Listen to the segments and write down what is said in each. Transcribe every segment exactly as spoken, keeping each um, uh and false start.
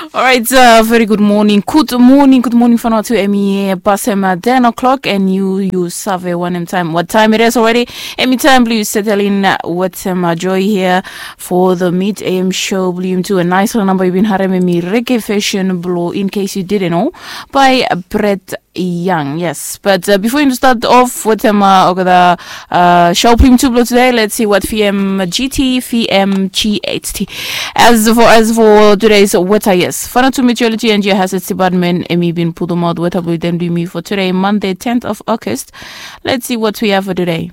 Alright, uh, very good morning. Good morning, good morning, Vanuatu. Emi, uh, pasem, uh, ten o'clock, and you, you save wanem taem, what time it is already. Emi taem blong yu setelin, uh, wetem, uh, Joy here for the mid A M show blong yumitu. A nice namba yu bin harem, emi Reggae Fashion blong In Case You Didn't Know by Brett Young, yes. But, uh, bifo yu start off wetem, uh, olgeta, uh, show blong yumitu blong tede, let's see what V M G T, V M G H T. As for, as for today's weather, yes. Vanuatu Meteorology and Geohazards Department, emi bin putumaot weather blong dem blong yumi for today, Monday, tenth of August. Let's see what we have for today.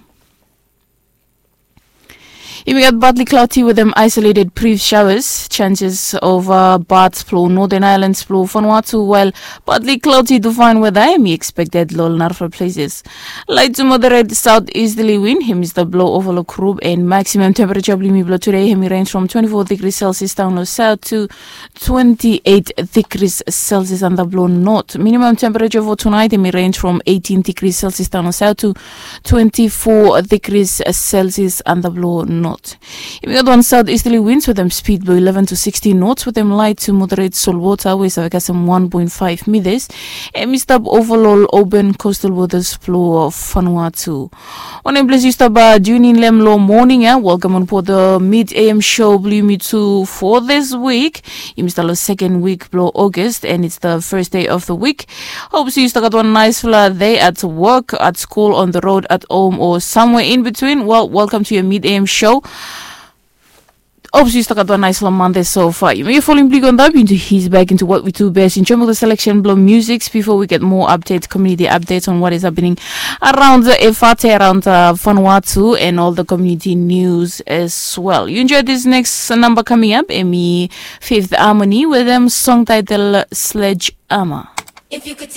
Yumi gat partly cloudy wetem isolated brief showers, chances of, uh, bad blong Northern Islands blong Vanuatu, while partly cloudy to fine weather emi expected long narafala places. Light to moderate southeasterly wind emi stap blo ova lo Group, and maximum temperature blong yumi blo today emi range from twenty-four degrees Celsius down lo south to twenty-eight degrees Celsius antap lo north. Minimum temperature for tonight emi range from eighteen degrees Celsius down lo south to twenty-four degrees Celsius antap lo north. Yumi gat wan southeasterly winds wetem speed blo eleven to sixteen knots wetem light to moderate salt water we save kasem one point five meters. Emi stap ova lo open coastal waters blo Vanuatu. Wanem ples yu stap, uh, tune in lo hem lo morning, eh? Welcome on board the mid A M show blong yumi tu for this week. Yumi stap lo second week blo August, and it's the first day of the week. Hope yu stap gat wan nice day at work, at school, on the road, at home, or somewhere in between. Well, welcome to your mid A M show. Hope yu stap gat wan nice long Monday so far. Yumi folem blong yu go antap into his back into what we do best in terms of the selection blo music before we get more updates, community updates on what is happening around the Efate, around, uh, Vanuatu, and all the community news as well. You enjoy this next number coming up, emi Fifth Harmony wetem song title Sledgehammer. If you could take